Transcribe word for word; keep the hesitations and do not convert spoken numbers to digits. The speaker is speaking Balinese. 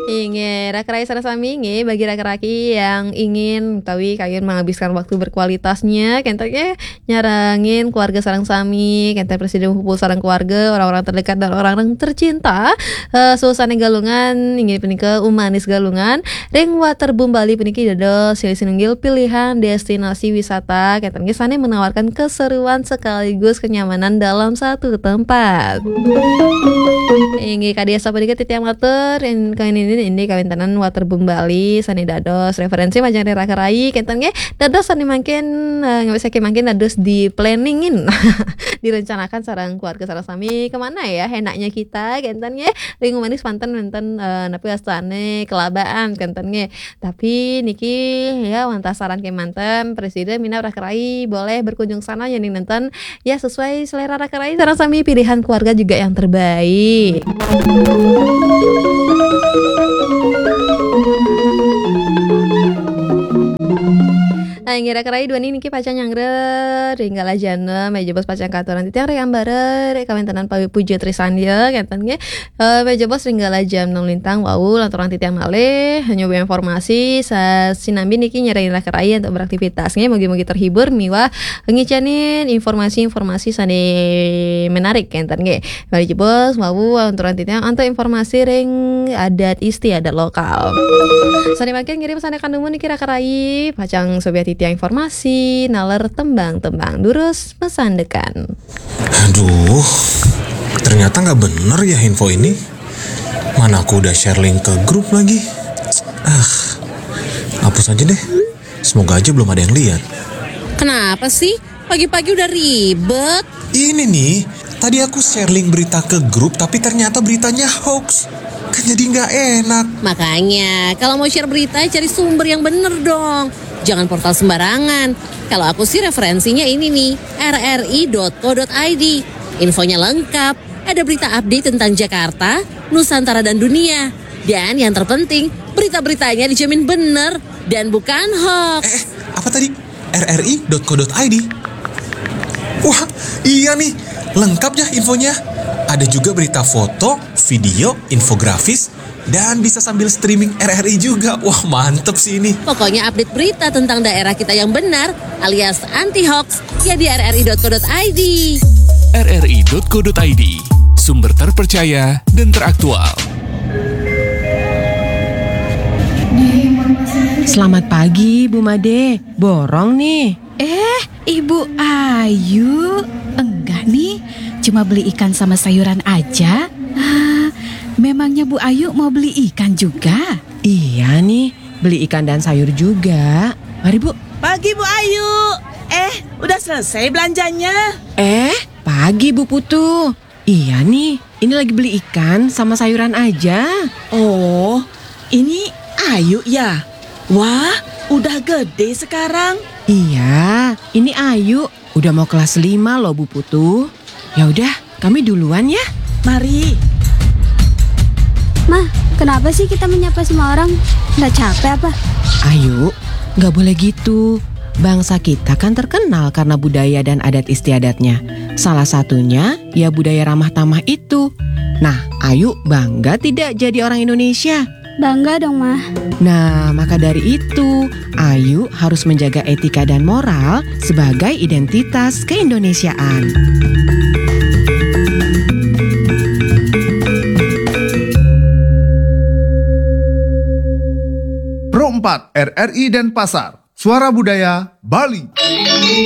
Inggih, raka rai sareng sami, inggih, bagi raka-raki yang ingin utawi kayun menghabiskan waktu berkualitasnya, kenten nggih, nyarengin keluarga sareng sami, kenten prasida ngumpul sareng keluarga, orang-orang terdekat dan orang-orang tercinta, eh, suasana Galungan, inggih punika Umanis Galungan, ring Waterboom Bali puniki dados silih sinunggil pilihan destinasi wisata, kenten nggih, sane menawarkan keseruan sekaligus kenyamanan dalam satu tempat. Inggih, kadi asapunika titiang matur, in-, kawin ini, ini kawintenan Waterboom Bali, sane dados referensi majeng raka rai, kenten nggih, dados sane mangkin, eh, ngawit saking mangkin dados di-planningin, direncanakan sareng keluarga sareng sami, kemana ya enaknya kita, kenten nggih, ring Umanis manten wenten, eh, napi wastane kelabaan, kenten nggih. Tapi niki ya, wantah saran kemanten, prasida minab raka rai boleh berkunjung sana yening nenten ya sesuai selera raka rai sareng sami pilihan keluarga juga yang terbaik. Nah, inggih raka rai duaning niki pacang nyanggra ring galah jana, menawi jebos pacang katuran titiang ring ambara, ring kawéntenan Pawi Puja Trisandya, kenten nggih. Eh, menawi jebos ring galah jam enam lintang wau, lanturang titiang malih nyoba informasi sa-, sinambi niki nyarengin raka rai antuk beraktivitas nggih. Mugi-mugi terhibur miwah ngicanin informasi-informasi sane menarik kenten nggih. Menawi jebos wau, lanturang titiang antuk informasi ring adat istiadat lokal. Sane mangkin ngiring sane kanumun niki raka rai, pacang sobiah titiang informasi, naler tembang-tembang durus masandekan. Aduh, ternyata nggak bener ya info ini. Mana aku udah share link ke grup lagi. Ah, hapus aja deh. Semoga aja belum ada yang lihat. Kenapa sih? Pagi-pagi udah ribet. Ini nih, tadi aku share link berita ke grup, tapi ternyata beritanya hoax. Kan jadi nggak enak. Makanya, kalau mau share berita, cari sumber yang bener dong. Jangan portal sembarangan. Kalau aku sih referensinya ini nih, R R I dot co dot I D. Infonya lengkap, ada berita update tentang Jakarta, Nusantara dan dunia. Dan yang terpenting, berita-beritanya dijamin bener dan bukan hoax. Eh, apa tadi? R R I dot co dot I D. Wah, iya nih, lengkap ya infonya. Ada juga berita foto, video, infografis, dan bisa sambil streaming R R I juga. Wah, mantep sih ini. Pokoknya update berita tentang daerah kita yang benar alias anti hoax ya di R R I dot co dot I D. R R I dot co dot I D, sumber terpercaya dan teraktual. Selamat pagi, Bu Made. Borong nih. Eh, Ibu Ayu. Enggak nih, cuma beli ikan sama sayuran aja. Ah, memangnya Bu Ayu mau beli ikan juga? Iya nih, beli ikan dan sayur juga. Mari, Bu. Pagi, Bu Ayu. Eh, udah selesai belanjanya? Eh, pagi, Bu Putu. Iya nih, ini lagi beli ikan sama sayuran aja. Oh, ini Ayu ya? Wah, udah gede sekarang. Iya, ini Ayu. Udah mau kelas lima loh, Bu Putu. Ya udah, kami duluan ya. Mari. Mah, kenapa sih kita menyapa semua orang? Nggak capek apa? Ayu, nggak boleh gitu. Bangsa kita kan terkenal karena budaya dan adat istiadatnya. Salah satunya ya budaya ramah tamah itu. Nah, Ayu bangga tidak jadi orang Indonesia? Bangga dong, Mah. Nah, maka dari itu, Ayu harus menjaga etika dan moral sebagai identitas keindonesiaan. Pro empat R R I Denpasar, Suara Budaya Bali.